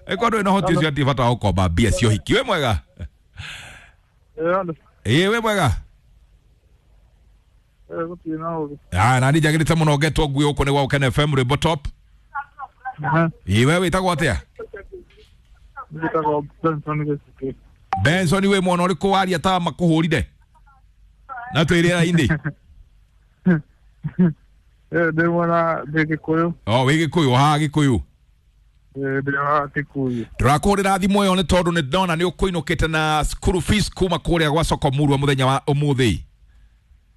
Ĩkorwo ndũrĩ na ũhoti ũcio hatirĩ bata wa gũkomba mbia cia ũhiki. Wĩ mwega? Ĩĩ, wĩ mwega? Gũtirĩ na ũru. Ah, na niĩ njagĩrĩte mũno ngetwo ngui gũkũ nĩ gwa Gũkena FM rwĩmbo top. Ĩĩ, we wĩtagwo atĩa? Njĩtagwo Benson Gĩcukĩ. Benson, wĩ mwana ũrĩkũ waria ta makũhũrire na twĩ rĩera-inĩ? Ndĩ mwana, ndĩ Gĩkũyũ. O wĩ Gĩkũyũ haha Gĩkũyũ? Ndĩ wa Kikuyu. Tũrakũhũrĩra thimũ ĩyo nĩ tondũ nĩ ndona nĩ ũkũinũkĩte na school fees kuma kũrĩa gwa soko murwa mũthenya wa ũmũthĩ.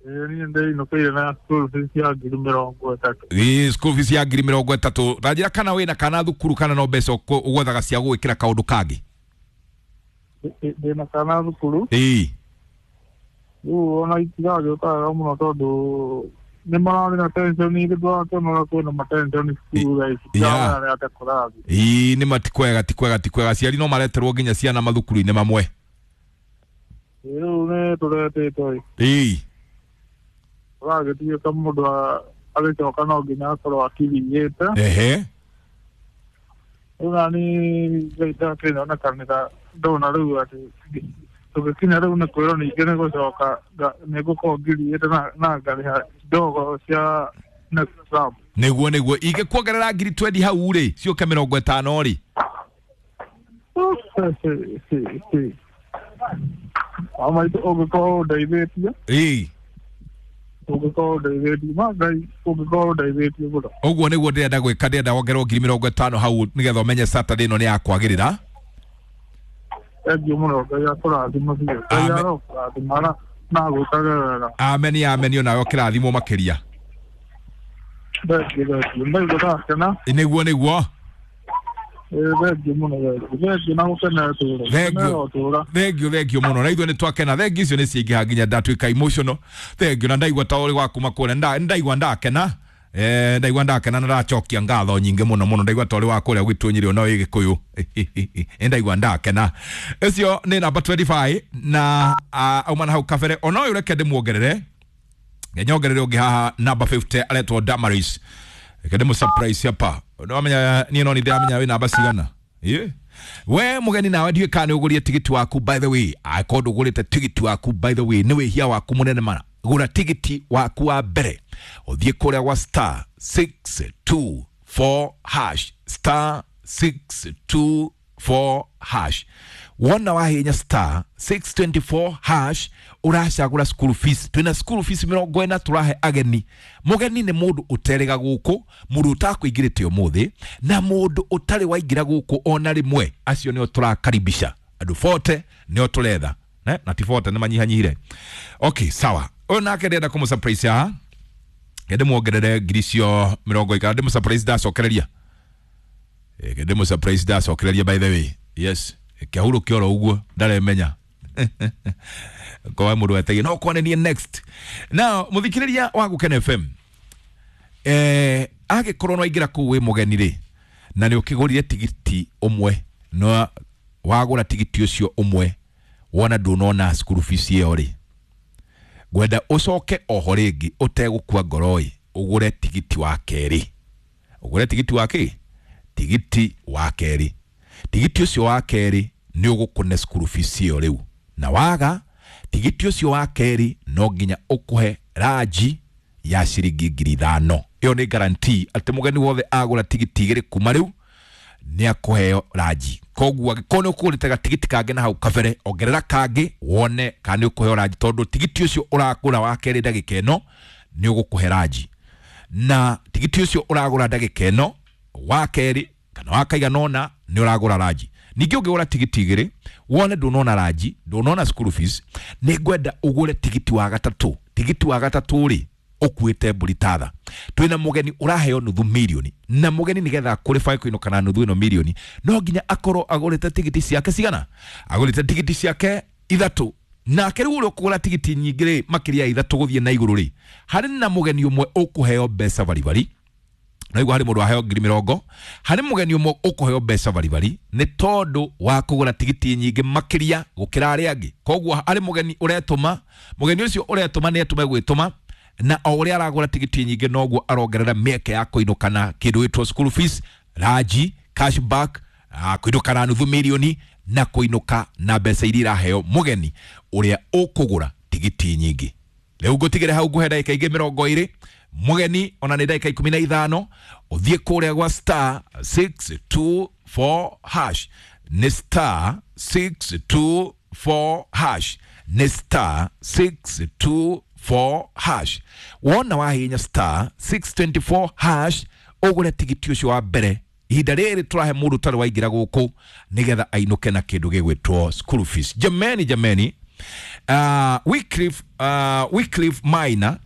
Niĩ ndĩinũkĩire na school fees ya 30,000. Ĩĩ, school fees ya 30,000. Ta njĩra kana wĩna kana thukuru kana no mbeca ũgwethaga cia gũgwĩkĩra kaũndũ kangĩ? Ndĩna kana thukuru. Ĩĩ. Rĩu ona itiragĩũka wega mũno tondũ nĩ mararĩ na tension igĩ tũrakĩona ũrĩa kwĩna matension cukuru thaa ici. Tiramenya atĩa kũrathiĩ. Ĩĩ, nĩ ma ti kwega, ti kwega, ti kwega. Aciari no mareterwo nginya ciana mathukuru-inĩ mamwe. Rĩu nĩ tũretĩtwo ĩ. Ĩĩ. Ũragĩtuĩka mũndũ agĩcoka no nginya akorwo akiriĩte. Ehe. Rĩu nani Ngai ndakĩnyonekanĩra ndona rĩu atĩ tũgĩkinya rĩu nĩ kwĩrwo ningĩ nĩ gũcoka nĩ ngũkorwo ngiriĩte na ngarĩha ndogo cia next term. Nĩguo, nĩguo. Ingĩkuongerera 20,000 hau rĩ, ciũke 50 rĩ. Wa maitũ ũngĩkorwo ũndeithĩtie. Ĩĩ. Ũngĩkorwo ũndeithĩtie ma Ngai, ũngĩkorwo ũndeithĩtie mũno. Ũguo nĩguo ndĩrenda gwĩka, ndĩrenda wongererwo 50,000 hau nĩgetha ũmenye Saturday ĩno nĩ yakwagĩrĩra. Thengiũ mũno, Ngai akũrathima biũ. Ngai Amen. arokũrathima na agwĩkage wega. Ameni, ameni, onawe ũkĩrathimwo makĩria. Thengiũ, thengiũ, ndaigua ndakena. Nĩguo, nĩguo. Thengiũ mũno, thengiũ, thengiũ na gũkenera tũra. Thengiũ. Gũkenera ũtũra. Thengiũ, thengiũ mũno, na ithuĩ nĩ twakena. Thengiũ icio nĩ ciaingĩha nginya ndatuĩka emotional. Thengiũ, na ndaigua ta ũrĩ wa kuma kũrĩa. Ndaigua ndakena. Ndaigua ndakena na ndacokia ngatho nyingĩ mũno mũno. Ndaigua ta ũrĩ wa kũrĩa gwitũ Nyĩrĩ, ona wĩ Gĩkũyũ. Ndaigua ndakena. Ũcio nĩ namba 25 na auma na hau kabere. Ona ũyũ reke ndĩmuongerere, nyongerere ũngĩ haha namba 50 aretwo Damaris. Reke ndĩmũ surprise hapa. Nĩwamenya niĩ no nĩ ndĩramenya wĩ namba cigana. Ĩ? We mũgeni nawe ndiũĩ kana nĩ ũgũrire tigiti waku. By the way, angĩkorwo ndũgũrĩte tigiti waku, by the way, nĩ wĩhia waku mũnene mana. Gũra tigiti waku wa mbere, ũthiĩ kũrĩa gwa star 624 hash, star 624 hash. Wona wahinya star 624 hash, ũracagũra school fees. Twĩna school fees 40 tũrahe ageni. Mũgeni nĩ mũndũ ũterĩga gũkũ, mũndũ ũtakũingĩrĩte ũmũthĩ na mũndũ ũtarĩ waingĩra gũkũ ona rĩmwe. Acio nĩo tũrakaribisha, andũ 40 nĩo tũretha. Ne? Na ti 40, nĩ manyihanyihire. Okay, sawa. Ũyũ nake ndĩrenda kũmũ surprise haha, ndĩmuongerere ngiri icio mĩrongo ikara. Ndĩmũ surprise ndacokereria. Ndĩmũ surprise ndacokereria. By the way, yes, kĩahurũke oro ũguo ndaremenya kwa mũndũ wetagia no kwa nĩ next. Now, mũthikĩrĩria wa Gũkena FM, angĩkorwo no aingĩra kũu wĩ mũgeni rĩ, na nĩ ũkĩgũrire tigiti ũmwe, no wagũra tigiti ũcio ũmwe wona ndũnona school fees ĩyo rĩ, ngwenda ũcoke oho rĩngĩ ũtegũkua ngoro ĩ, ũgũre tigiti wa kerĩ. Ũgũre tigiti wa kĩ? Tigiti wa kerĩ. Tigiti ũcio wa kerĩ nĩ ũgũkũne school fees ĩyo rĩu, na waga tigiti ũcio wa kerĩ no nginya ũkũhe ranji ya ciringi 5,000. Ĩyo nĩ guarantee atĩ mũgeni wothe agũra tigiti igĩrĩ kuma rĩu nĩ akũheo ranji. Koguo angĩkorwo nĩ ũkũgũrĩte gatigiti kangĩ na hau kabere, ongerera kangĩ wone kana nĩ ũkũheo ranji, tondũ tigiti ũcio ũragũra wa kerĩ ndagĩka ĩno nĩ ũgũkũhe ranji, na tigiti ũcio ũragũra ndagĩka ĩno wa kerĩ kana wa kaigana ũna nĩ ũragũra ranji. Ningĩ ũngĩgũra tigiti igĩrĩ wone ndũnona ranji, ndũnona school fees, nĩ ngwenda ũgũre tigiti wa gatatũ. Tigiti wa gatatũ rĩ, ũkuĩte mbũri tatha. Twĩna mũgeni ũraheo nuthu mirioni, na mũgeni nĩgetha qualify kũinũka na nuthu ĩno mirioni no nginya akorwo agũrĩte tigiti ciake cigana? Agũrĩte tigiti ciake ithatũ. Nake rĩu ũrĩa ũkũgũra tigiti nyingĩ rĩ, makĩria ya ithatũ gũthiĩ na igũrũ rĩ, harĩ na mũgeni ũmwe ũkũheo mbeca baribari. Naigua harĩ mũndũ waheo 20,000, harĩ mũgeni ũmwe ũkũheo mbeca baribari nĩ tondũ wa kũgũra tigiti nyingĩ makĩria gũkĩra arĩa angĩ. Koguo harĩ mũgeni ũretũma, mũgeni ũcio ũretũma nĩ etũme gwĩtũma, na o ũrĩa aragũra tigiti nyingĩ noguo arongerera mĩeke ya kũinũka na kĩndũ gĩtwo school fees, ranji, cashback. Kũinũka na nuthu mirioni na kũinũka na mbeca iria iraheo mũgeni ũrĩa ũkũgũra tigiti nyingĩ. Rĩu ngũtigĩre hau ngũhe ndagĩka ingĩ 20 mũgeni ona nĩ ndagĩka 15 ũthiĩ kũrĩa gwa star 624 hash nĩ star 624 hash nĩ star 624 hash. Wona wahihinya star 624 hash ũgũre tigiti ũcio wa mbere ihinda rĩrĩ tũrahe mũndũ ũtarĩ waingĩra gũkũ nĩgetha ainũke na kĩndũ gĩgwĩtwo school fees. Jameni jameni, Wycliffe Maina,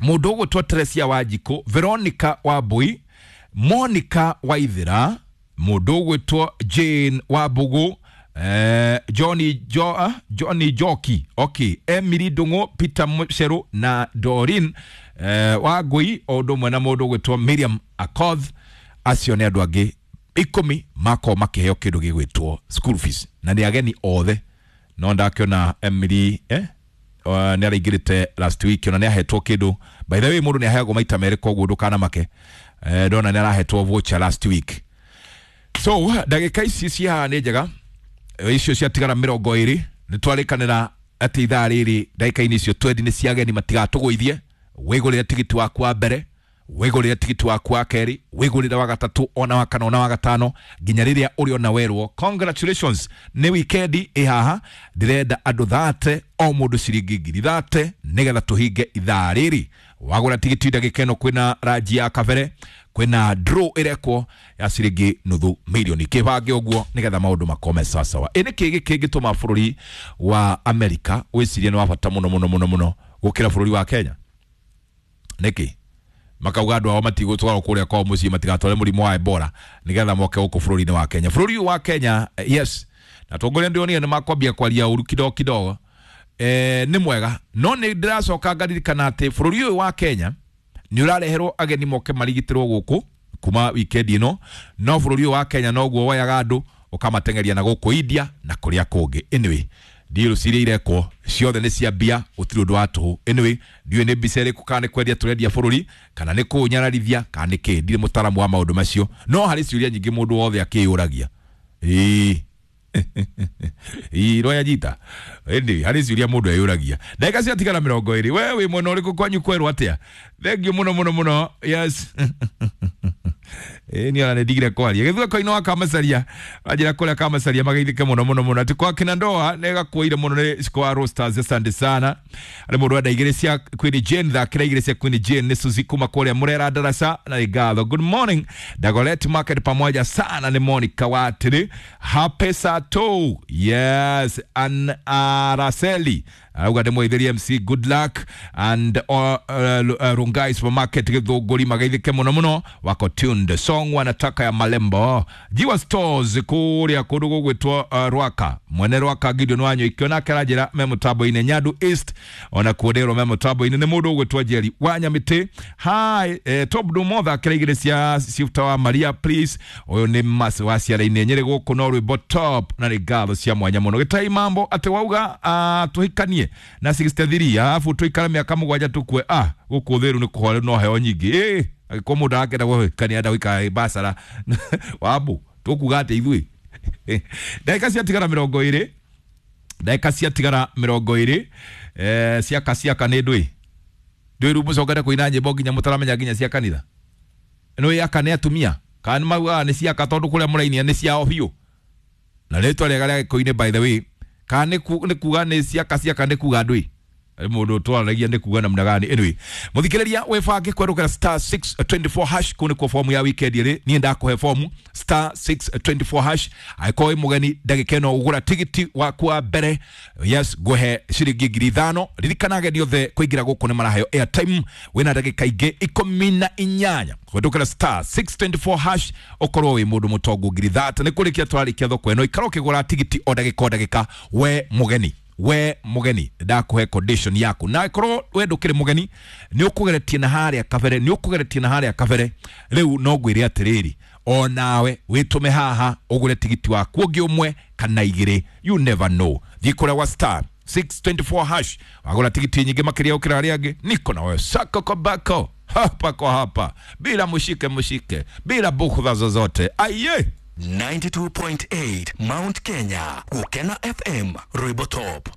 mũndũ ũgwĩtwo Teresia Wanjikũ, Veronica Wambui, Monica Waithera, mũndũ ũgwĩtwo Jane Wambugu, Johnny Joki, okay, Emily Ndung'u, Peter Mucheru na Dorin Wangui, o ũndũ ũmwe na mũndũ ũgwĩtwo Miriam Akoth. Acio nĩ andũ angĩ 10 makorwo makĩheo kĩndũ gĩgwĩtwo school fees na nĩ ageni othe. No ndakĩona Emily nĩ araingĩrĩte last week ona nĩ ahetwo kĩndũ. By the way, mũndũ nĩ aheagwo maita merĩ, koguo ndũkanamake. Ndona nĩ arahetwo voucher last week. So ndagĩka ici ci haha nĩ njega, icio ciatigara 20 nĩ twarĩkanĩra atĩ ithaa rĩrĩ ndagĩka-inĩ icio 20 nĩ cia ageni matigatũgũithie. Wĩgũrĩre tigiti waku wa mbere, wĩgũrĩre tigiti waku wa kerĩ, wĩgũrĩre wa gatatũ, ona wa kana, ona wa gatano, nginya rĩrĩa ũrĩona werwo congratulations nĩ wikendi ĩ haha. Ndĩrenda andũ 30, o mũndũ ciringi 30,000 nĩgetha tũhinge ithaa rĩrĩ. Wagũra tigiti ndagĩka ĩno kwĩna ranji ya kabere, kwĩna draw ĩrekwo ya ciringi nuthu mirioni. Kĩbange ũguo nĩgetha maũndũ makome sawasawa. Ĩ nĩkĩ gĩkĩngĩtũma bũrũri wa Amerika wĩcirie nĩ wa bata mũno mũno mũno mũno gũkĩra bũrũri wa Kenya? Nĩkĩ makauga andũ ao matigũtwarwo kũrĩa kwao mũciĩ matigatware mũrimũ wa Ebola nĩgetha moke gũkũ bũrũri-inĩ wa Kenya? Bũrũri ũyũ wa Kenya, yes, na atongoria ndĩronire nĩ makwambia kwaria ũru kidogo kidogo, nĩ mwega, no nĩ ndĩracoka ngaririkana atĩ bũrũri ũyũ wa Kenya nĩ ũrareherwo ageni moke marigitĩrwo gũkũ kuma wikendi ĩno, no bũrũri ũyũ wa Kenya noguo woyaga andũ ũkamateng'eria na gũkũ India na kũrĩa kũngĩ. Anyway, deal ciria irekwo ciothe nĩ cia mbia, gũtirĩ ũndũ wa tũhũ. Anyway, ndiũĩ nĩ mbica ĩrĩkũ, kana nĩ kwendia tũrendia bũrũri, kana nĩ kũũnyararithia, kana nĩ kĩ, ndirĩ mũtaaramu wa maũndũ macio, no harĩ ciũria nyingĩ mũndũ wothe akĩyũragia. Ĩĩ ĩĩ roya jita ĩndĩ harĩ ciũria mũndũ eyũragia. Ndagĩka ciatigara 20. We wĩ mwena ũrĩkũ kwanyu kwerwo atĩa? Thengiũ mũno mũno mũno. Yes, ĩĩ niĩ ona nĩ ndigire kwaria. Gĩthweko-inĩ wa Kamacaria, wanjĩra kũrĩa Kamacaria mageithĩke mũno mũno mũno atĩ kwa kina ndoa nĩ gakuĩire mũno nĩ Ciko wa Roasters. Asante sana. Arĩ mũndũ wenda igĩrĩ cia Queen Jane, thakĩra igĩrĩ cia Queen Jane nĩ Suzy kuma kũrĩa Mũrera Darasa na nĩ ngatho. Good morning Dagoretti Market, pamoja sana nĩ Monica Watiri happy sato. Yes, an Araceli auga ndĩmweithĩrie MC good luck and Rungai Supermarket Gĩthũngũri mageithĩke mũno mũno wako tuned song wanataka ya Malembo Jiwa Stores kũrĩa kũndũ gũgwĩtwo Rwaka, mwene Rwaka Gideon Wanyoike onake aranjĩra me mũtambo-inĩ. Nyandu East ona kuo ndĩrwo me mũtambo-inĩ nĩ mũndũ ũgwĩtwo Jerry wa Nyamĩtĩ. Hi, Top Dumo thakĩra igĩrĩ cia Shifter wa Maria please. Ũyũ nĩ mas wa ciara-inĩ Nyĩrĩ gũkũ no rwĩmbo top na nĩ ngatho cia mwanya mũno. Gĩtai mambo atĩ wauga tũhikanie na 63 alafu tuikare mĩaka 7 tukue. Gũkũ thĩru nĩ kũhore no heo nyingĩ. Ĩ angĩkorwo mũndũ arakenda gũhikania enda gũikara bacara wambu tũkuga atĩ ithuĩ. Ndagĩka ciatigara 20, ndagĩka ciatigara 20, ciaka ciaka nĩ ndũĩ ndũĩ rĩu mũcokete kũina nyĩmbo nginya mũtaramenya nginya cia kanitha nĩ aka nĩ atumia kana nĩ maugaga nĩ ciaka tondũ kũrĩa mũrainia nĩ ciao biũ na rĩtwa rĩega rĩa gĩkũyũ-inĩ by the way, kana nĩ kuga nĩ ciaka ciaka nĩ kuga ndũĩ mũndũ twaragia nĩ kuga namna gani. Anyway, mũthikĩrĩria wĩbange kwerũkĩra star 624 hash kũu nĩkuo fomu ya weekend ĩrĩ. Niĩ ndakũhe fomu star 624 hash. Angĩkorwo wĩ mũgeni ndagĩka ĩno ũgũra tigiti waku wa mbere, yes, ngũhe ciringi 5,000. Ririkana ageni othe kũingĩra gũkũ nĩ maraheo airtime. Wĩna ndagĩka ingĩ 18 kũhetũkĩra star 624 hash ũkorwo wĩ mũndũ mũtongu 30,000. Nĩ kũrĩkia tũrarĩkia thoko ĩno, ikara ũkĩgũra tigiti o ndagĩka o ndagĩka. We mũgeni, we mũgeni ndakuhe condition yaku, na korwo we ndũkĩrĩ mũgeni nĩ ũkũgeretie na harĩa kabere, nĩ ũkũgeretie na harĩa kabere. Rĩu no ngwĩre atĩrĩrĩ, o nawe wĩtũme haha ũgũre tigiti waku ũngĩ ũmwe kana igĩrĩ, you never know. Thiĩ kũrĩa wa star 624 hash wagũra tigiti nyingĩ makĩria gũkĩra arĩa angĩ. Niko na wewe sako kobako hapa kwa hapa, bila mushike mushike, bila bughudha zozote. Aye. 92.8 Mount Kenya, Gukena FM, Rwimbo Top.